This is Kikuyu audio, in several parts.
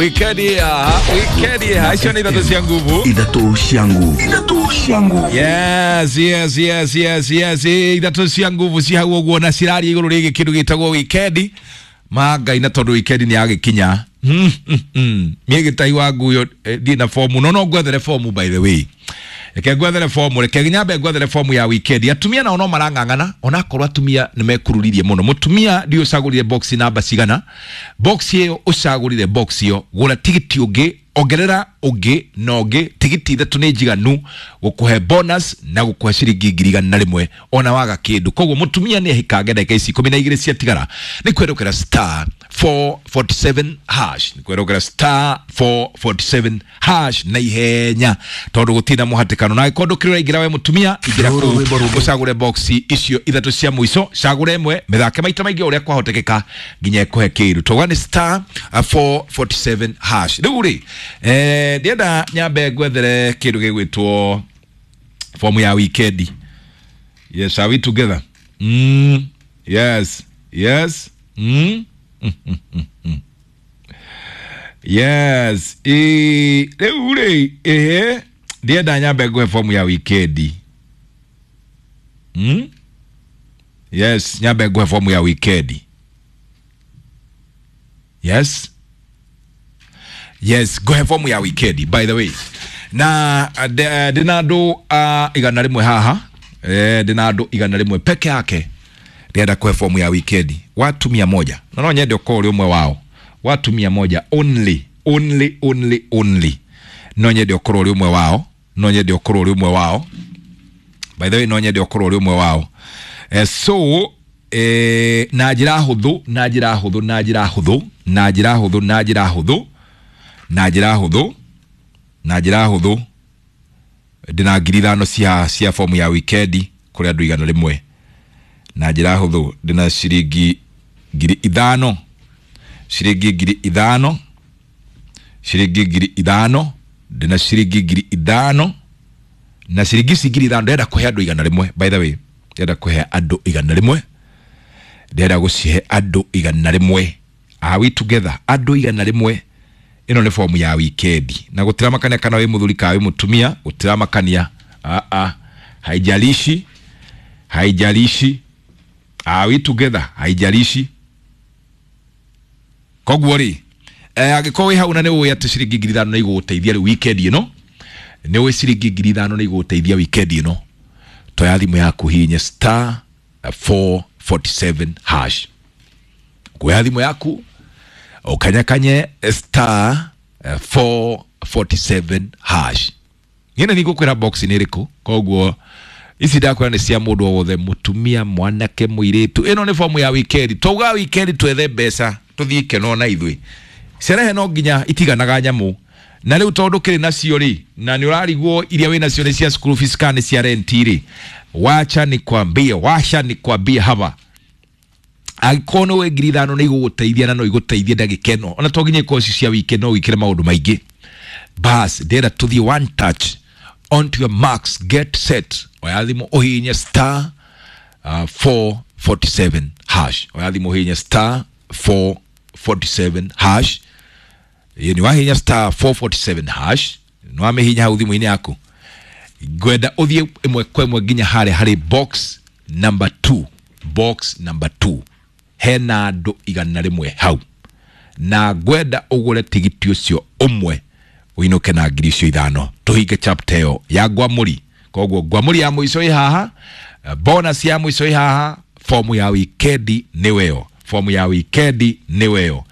Wikendi ya wikendi ya icio nĩ ithatũ cia nguvu. Ithatũ cia nguvu. Ithatũ cia nguvu. Yes, yes, yes, yes, yes. Ithatũ cia nguvu ci hau ũguo na ciraria igũrũ rĩgiĩ kĩndũ gĩtagwo wikendi. Ma Ngai, na tondũ wikendi nĩ yagĩkinya, niĩ gĩtai wa nguyo ndirĩ na fomu, no no ngwethere fomu. By the way, reke ngwethere fomu, reke nyambe ngwethere fomu ya wikendi. Atumia nao no marang'ang'ana, onakorwo atumia nĩ mekururirie mũno. Mũtumia, ndiũ ũcagũrire box namba cigana? Box ĩyo ũcagũrire, box ĩyo gũra tigiti ũngĩ, ongerera ũngĩ na ũngĩ. Tigiti ithatũ nĩ njiganu gũkũhe bonus na gũkũhe ciringi 100,000 ona waga kĩndũ. Koguo mũtumia nĩ ehikange. Ndagĩka ici 12 ciatigara nĩ kwerũkĩra star 447 hash, nĩ kwerũkĩra star 447 hash na ihenya, tondũ gũtirĩ na mũhatĩkano. Na angĩkorwo ndũkĩrĩ ũraingĩra, we mũtumia, ingĩra kũu ũcagũre box icio ithatũ cia mũico. Cagũre ĩmwe, mĩthake maita maingĩ ũrĩa kwahotekeka nginya ĩkũhe kĩndũ. Tauga nĩ star 447 hash. Rĩu rĩ, ndienda nyambe ngwethere kĩndũ gĩgwĩtwo fomu ya wikendi. Yes, are we together? Yes, yes. Rĩu rĩ, ĩhĩ, ndienda nyambe ngũhe fomu ya wikendi. Yes, nyambe ngũhe fomu ya wikendi. Yes, ngũhe fomu ya wikendi. By the way, na ndĩna andũ 100 haha. Ndĩna andũ 100 peke yake ndĩrenda kũhe fomu ya wikendi, watu 100, na no nyende ũkorwo ũrĩ ũmwe wao. Watu 100 only, only, only, only. No nyende ũkorwo ũrĩ ũmwe wao, no nyende ũkorwo ũrĩ ũmwe wao. By the way, no nyende ũkorwo ũrĩ ũmwe wao. So na njĩra hũthũ, na njĩra hũthũ, na njĩra hũthũ, na njĩra hũthũ, na njĩra hũthũ, na njĩra hũthũ, na njĩra hũthũ, ndĩna 5,000 cia fomu ya wikendi kũrĩ andũ 100. Na njĩra hũthũ, ndĩna ciringi 5,000, ciringi 5,000, ciringi 5,000. Ndĩna ciringi 5,000, na ciringi ici 5,000 ndĩrenda kũhe andũ 100. By the way, ndĩrenda kũhe andũ 100, ndĩrenda gũcihe andũ 100. Are we together? Andũ 100. Ĩno nĩ fomu ya wikendi na gũtiramakania kana wĩ mũthuri kana wĩ mũtumia, gũtiramakania. Ah, haijalishi, haijalishi. Are we together? Haijalishi. Koguo rĩ, angĩkorwo wĩ hau na nĩ ũĩ atĩ ciringi 5,000 nĩ igũgũteithia rĩu wikendi ĩno, nĩ ũĩ ciringi 5,000 nĩ igũgũteithia wikendi ĩno, toya thimũ yaku, hihinye star 447 hash. Kuoya thimũ yaku, ukanyakanye star 447 hash. Ngine nĩ box nĩ ĩrĩkũ. Koguo ici ndakwĩra nĩ cia mũndũ o wothe, mũtumia, mwanake, mũirĩtu. Ĩno nĩ fomu ya wikendi. Twauga wikendi twethe mbeca tũthiĩ ikeno na ithuĩ. Cerehe no nginya itiganaga nyamũ, na rĩu tondũ kĩrĩ nacio rĩ, na nĩ ũrarigwo iria wĩ nacio nĩ cia school fees kana nĩ cia rent rĩ, wacha nikwambie, wacha nikwambie hapa, angĩkorwo nĩ ũĩ 5,000 nĩ igũgũteithia na no igũteithie ndagĩka ĩno, ona to nginya ikorwo ci cia weekend, no wĩkĩre maũndũ maingĩ. Bas, ndĩrenda tũthiĩ one touch. On to your marks, get set. Oya thimũ, ũhihinye star 447 hash. Oya thimũ, ũhihinye star 447 hash. Ĩĩ, nĩ wahihinya star 447 hash, nĩ wamĩhihinya hau thimũ-inĩ yaku, ngwenda ũthiĩ ĩmwe kwa ĩmwe nginya harĩa harĩ box number 2. Box number 2 hena andũ 100 hau, na ngwenda ũgũre tigiti ũcio ũmwe, ũinũke na 5,000, tũhinge chapter ĩyo ya ngwamũri. Koguo ngwamũri ya mũico ĩ haha, bonus ya mũico ĩ haha. Fomu ya wikendi nĩweyo, fomu ya wikendi nĩweyo,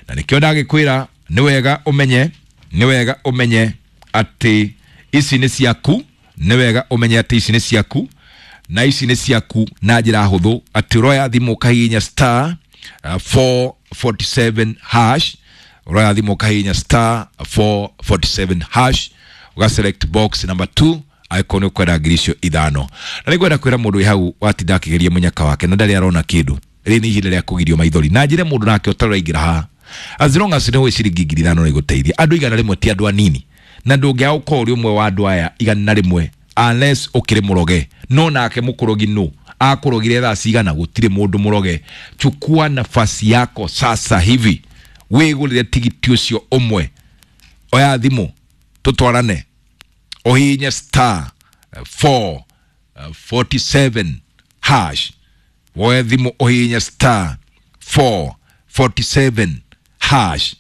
na nĩkĩo ndagĩkwĩra nĩ wega ũmenye, nĩ wega ũmenye atĩ ici nĩ ciaku, nĩ wega ũmenye atĩ ici nĩ ciaku, na ici nĩ ciaku na njĩra hũthũ, atĩ ũroya thimũ ũkahihinya star 447 hash. Ũroya thimũ, ũkahihinya star 447 hash, ũga select box number 2 angĩkorwo nĩ ũkwenda 5,000. Na nĩ ngwenda kwĩra mũndũ wĩ hau watinda akĩgeria mũnyaka wake na ndarĩ arona kĩndũ, rĩrĩ nĩ ihinda rĩa kũgirio maithori. Na njĩre mũndũ nake ũtarĩ haha, as long as nĩ ũĩ ciringi 5,000 nĩ igũteithia andũ 100, ti andũ anini, na ndũngĩaga gũkorwo ũrĩ ũmwe wa andũ aya 100 unless ũkĩrĩ mũroge. No nake mũkũrogi nũ akũrogire thaa cigana? Gũtirĩ mũndũ mũroge. Chukua nafasi yako sasa hivi. Wĩgũrĩre tigiti ũcio ũmwe. Oya thimũ tũtwarane, ũhihinye star 447 hash. Woe thimũ ũhihinye star 447 hash,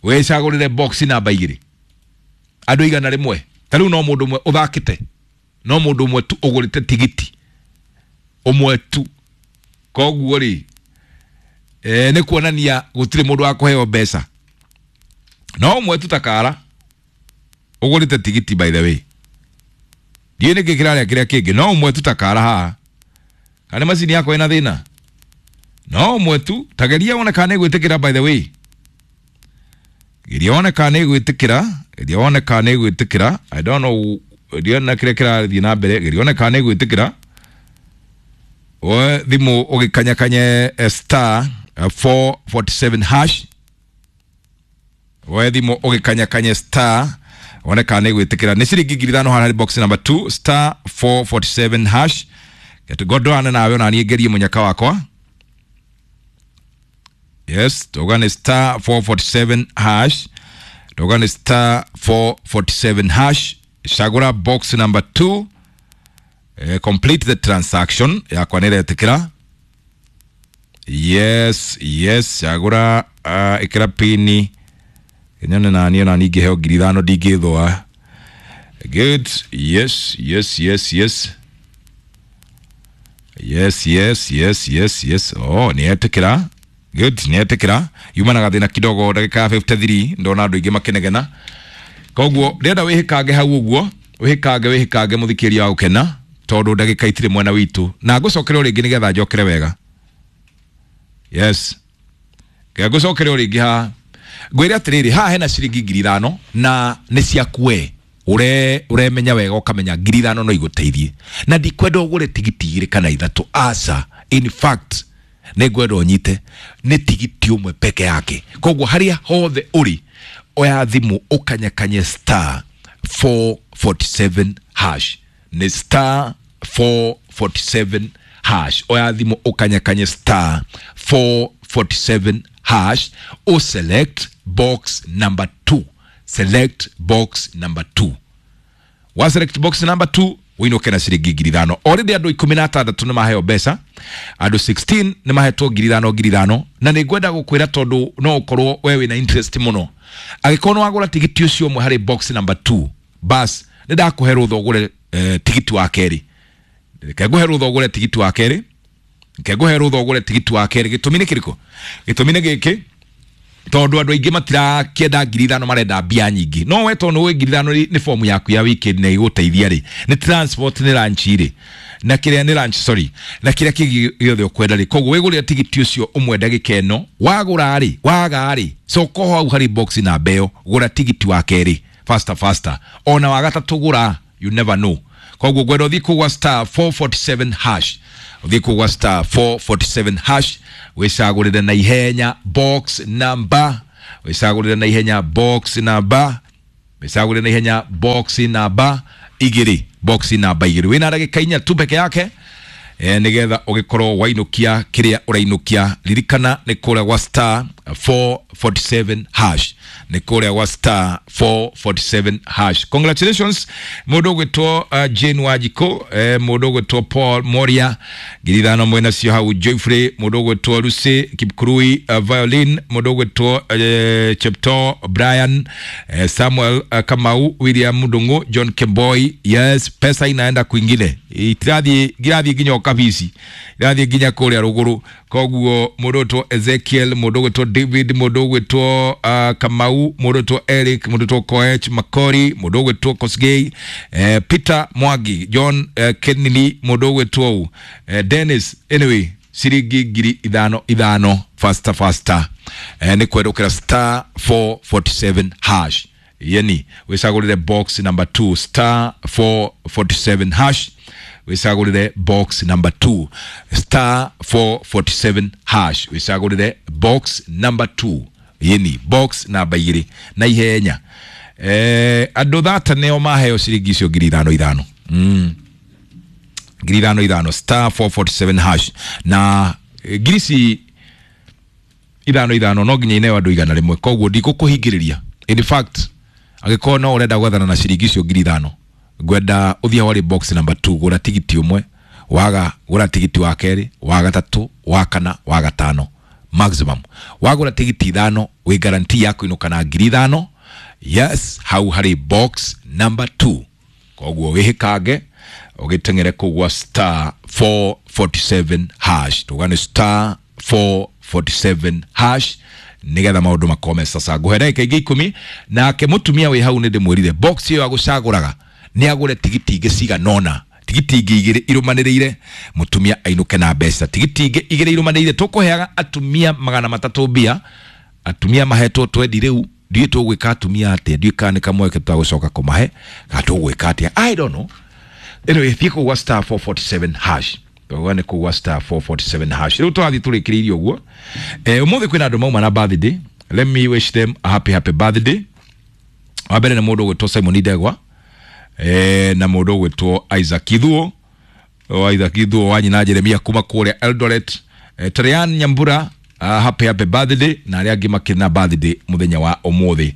wĩcagũrĩre box namba 2. Andũ 100, ta rĩu no mũndũ ũmwe ũthakĩte, no mũndũ ũmwe tu ũgũrĩte tigiti ũmwe tu. Koguo rĩ, nĩ kuonania gũtirĩ mũndũ wa kũheo mbeca, no ũmwe tu takara ũgũrĩte tigiti. By the way, ndiũĩ nĩkĩ kĩrarĩa kĩrĩa kĩngĩ, no ũmwe tu takara haha. Kana macini yakwa ĩna thĩna? No ũmwe tu. Tageria wone kana nĩ gwĩtĩkĩra. By the way, geria wone kana nĩ gwĩtĩkĩra, geria wone kana nĩ gwĩtĩkĩra. I don't know, ndiona kĩrĩa kĩrathiĩ na mbere. Geria wone kana nĩ gwĩtĩkĩra. Woe thimũ ũgĩkanyakanye star 447 hash. Woe thimũ ũgĩkanyakanye star, wone kana nĩ gwĩtĩkĩra. Nĩ ciringi 5,000 haha harĩ box number 2, star 447 hash. Gondoane nawe ona niĩ ngerie mũnyaka wakwa. Yes, tuga nĩ star 447 hash, tuga nĩ star 447 hash. Cagũra box number 2, complete the transaction. Yakwa nĩ ĩretĩkĩra. Yes, cagũra, ĩkĩra pini nyone nani ona niĩ ngĩheo 5,000 ndingĩthũa. Good. Yes. Oh, nĩ etĩkĩra. Good, nĩ etĩkĩra. Yuma na gathĩna kidogo ndagĩka ya 53, ndona andũ aingĩ makĩnegena. Koguo ndĩrenda wĩhĩkange hau ũguo, wĩhĩkange, wĩhĩkange, mũthikĩria wa gũkena, tondũ ndagĩka itirĩ mwena witũ, na ngũcokere o rĩngĩ nĩgetha njokere wega. Yes, ngũcokere o rĩngĩ haha ngwĩre atĩrĩrĩ, haha hena ciringi 5,000 na nĩ ciaku we ure uremenya wega, ũkamenya 5,000 no igũteithie, na ndikwenda ũgũre tigiti igĩrĩ kana ithatũ, aca. In fact, nĩ ngwenda ũnyite nĩ tigiti ũmwe peke yake. Koguo harĩa hothe ũrĩ, oya thimũ ũkanyakanye star 447 hash. Nĩ star 447 hash. Oya thimũ ũkanyakanye star 447 hash, o select box number 2. Select box number 2. Wa select box number 2, wĩinũke na ciringi 5,000. Already andũ 16 nĩ maheo mbeca, andũ 16 nĩ mahetwo 5,000 5,000. Na nĩ ngwenda gũkwĩra, tondũ no ũkorwo we wĩna interest mũno, angĩkorwo nĩ wagũra tigiti ũcio ũmwe harĩ box number 2, bas nĩ ndakũhe rũtha ũgũre tigiti wa kerĩ. Reke ngũhe rũtha ũgũre tigiti wa kerĩ. Reke ngũhe rũtha ũgũre tigiti wa kerĩ. Gĩtũmi nĩ kĩrĩkũ? Gĩtũmi nĩ gĩkĩ, tondũ andũ aingĩ matirakĩenda 5,000, marenda mbia nyingĩ. No we tondũ wĩ 5,000 nĩ fomu yaku ya weekend na igũteithia rĩ, nĩ transport, nĩ lunch rĩ, na kĩrĩa nĩ lunch, sorry, na kĩrĩa kĩngĩ gĩothe ũkwenda rĩ. Koguo wĩgũrĩre tigiti ũcio ũmwe ndagĩka ĩno. Wagũra rĩ, waga rĩ, coka hau harĩ box namba ĩyo, gũra tigiti wa kerĩ faster faster, ona wa gatatũ gũra, you never know. Koguo ngwenda ũthiĩ kũgwa star 447 hash, ũthiĩ kũgwa star 447 hash, wĩcagũrĩre na ihenya box number, wĩcagũrĩre na ihenya box number, wĩcagũrĩre na ihenya box namba 2, box namba 2. Wĩna ndagĩka 4 tu peke yake, nigetha ũgĩkorwo wainũkia kĩrĩa ũrainũkia. Ririkana nĩ kũrĩa gwa star 447 hash, nĩ kũrĩa gwa star 447 hash. Congratulations mũndũ ũgwĩtwo Jane Wanjikũ, mũndũ ũgwĩtwo Paul Moria, 5,000 mwena cio hau. Joyfrey, mũndũ ũgwĩtwo Lucy Kipkurui, Violin, mũndũ ũgwĩtwo Chepto Brian, Samuel Kamau, William Ndungu, John Kemboi. Yes, pesa inaenda kwingine, itirathiĩ irathiĩ nginya kabisi, irathiĩ nginya kũrĩa rũgũrũ. Koguo mũndũ ũgwĩtwo Ezekiel, mũndũ ũgwĩtwo David, mũndũ ũgwĩtwo Kamau, mũndũ ũgwĩtwo Eric, mũndũ ũgwĩtwo Koech Makori, mũndũ ũgwĩtwo Kosgei, Peter Mwangi, John Kennedy, mũndũ ũgwĩtwo Dennis. Anyway, ciringi 5,000 5,000, faster faster, nĩ kwerũkĩra star 447 hash, yeni wĩcagũrĩre box number 2, star 447 hash, wĩcagũrĩre box number 2, star 447 hash, wĩcagũrĩre box number 2, yeni box namba 2 na ihenya. Andũ thata nĩo maheo ciringi icio 5,000 5,000, 5,000 5,000, star 447 hash. Na ngiri ici Ithano ithano no nginya ineo andũ 100, koguo ndikũkũhingĩrĩria. In fact, angĩkorwo no ũrenda gwethana na ciringi icio 5,000, ngwenda ũthiĩ harĩ box number 2, gũra tigiti ũmwe, waga gũra tigiti wa kerĩ, wa gatatũ, wa kana, wa gatano maximum. Wagũra tigiti ithano, wĩ guarantee ya kũinũka na 5,000. Yes, hau harĩ box number 2. Koguo wĩhĩkange ũgĩteng'ere kũu gwa star 447 hash, tugane star 447 hash nigetha maũndũ makome. Sasa ngũhe ndagĩka ingĩ 10, nake mũtumia wĩ hau nĩ ndĩmwĩrire box ĩyo agũcagũraga nĩ agũre tigiti ingĩ cigana ũna, tigiti ingĩ igĩrĩ irũmanĩrĩire, mũtumia ainũke na mbeca. Tigiti ingĩ igĩrĩ irũmanĩrĩire, tũkũheaga atumia 300 mbia. Atumia mahetwo twendi rĩu, ndiũĩ tũgwĩka atumia atĩa, ndiũĩ kana nĩ kamweke tũtagũcoka kũmahe kana tũgwĩka atĩa, I don't know. Anyway, thiĩ kũu gwa star 447 hash, tũgwa nĩ kũu gwa star 447 hash. Rĩu tũrathiĩ tũrĩkĩrĩirie ũguo. Ũmũthĩ kwĩna andũ mauma na birthday. Let me wish them a happy happy birthday. Wa mbere nĩ mũndũ ũgwĩtwo Simon Ndegwa, na mũndũ ũgwĩtwo Isaac Ithuo, o Isaac Ithuo wa nyina Jeremia kuma kũrĩa Eldoret. Trean Nyambura, happy happy birthday, na arĩa angĩ makĩrĩ na birthday mũthenya wa ũmũthĩ,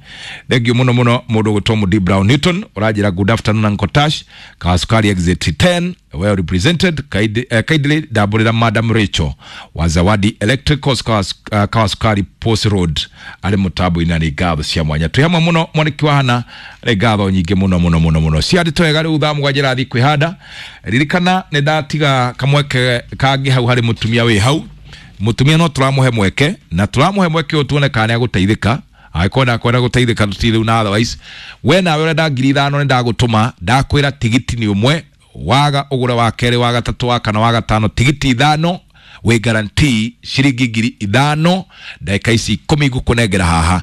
thank you mũno mũno. Mũndũ ũgwĩtwo Mudi Brown Newton ũranjĩra good afternoon Uncle Tash, Kasukari exit 10 well represented. Kindly ndambũrĩra Madam Rachel wa Zawadi Electricals, Kawasukari Post Road, arĩ mũtambo-inĩ, na nĩ ngatho cia mwanya. Twĩ hamwe mũno, mwanĩki wa hana, nĩ ngatho nyingĩ mũno mũno mũno mũno cia ndĩ twega. Rĩu thaa 7 rathiĩ kwĩhanda. Ririkana nĩ ndatiga kamweke kangĩ hau harĩ mũtumia wĩ hau. Mũtumia no tũramũhe mweke, na tũramũhe mweke ũyũ tuone kana nĩagũteithĩka. Angĩkorwo ndakwenda gũteithĩka, tũtirĩ rĩu na otherwise we nawe ũrenda 5,000, nĩ ndagũtũma. Ndakwĩra tigiti nĩ ũmwe, waga ũgũre wa kerĩ, wa gatatũ, wa kana, wa gatano. Tigiti ithano wĩ guarantee ciringi 5,000. Ndagĩka ici 10 ngũkũnengera haha,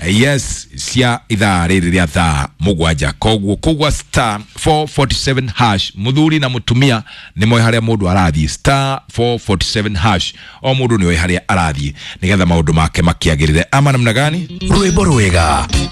yes, cia ithaa rĩrĩ rĩa thaa 7. Koguo kũgwa star 447 hash, mũthuri na mũtumia nĩ moĩ harĩa mũndũ arathiĩ. Star 447 hash, o mũndũ nĩ oĩ harĩa arathiĩ nĩgetha maũndũ make makĩagĩrĩre, ama namna gani? Rwĩmbo rwega.